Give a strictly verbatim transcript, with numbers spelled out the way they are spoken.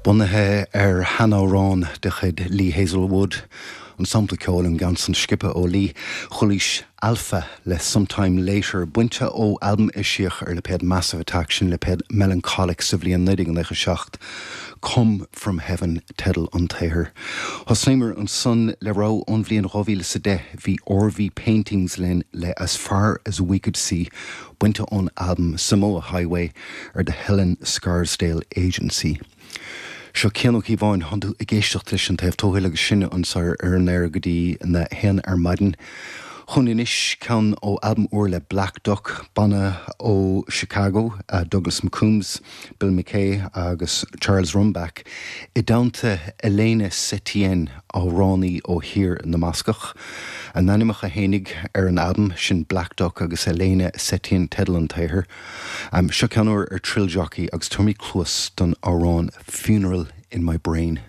Bunaithe ar sheanamhrán de chuid Lee Hazlewood, an sampla ceoil an ceann san sciobtha ó Lee chualaís Alpha le Sometime Later bainte ó albam eisíodh ar lipéad Massive Attack sin lipéad Melancholic sa bhliain naoi déag nócha seacht. Come from Heaven teideal an tsaothair. Thosnaíomar ansan le rogha ón bhliain dhá mhíle is a deich bhí RV Paintings linn le As Far as We Could See bainte ón albam Samoa Highway ar The Helen Scarsdale Agency. Seo Cian Ó Cíobháin tá tú ag éisteacht leis an taobh tuathail agus sinne anseo ar an aer go dtí na haon ar maidin. Chun anois ceann ó albam úr le Black Duck banna ó Chicago, uh, Douglas McCombs, Bill McKay agus Charles Rumback, i dteannta Elena Setien amhránaí ó thír na mBascach. A n-ainmneacha fhéinig ar an albam sin Black Duck agus Elena Setien teideal an tsaothair. Um, seo ceann úr ar Thrill Jockey agus tabhair cluas don amhrán Funeral in My Brain.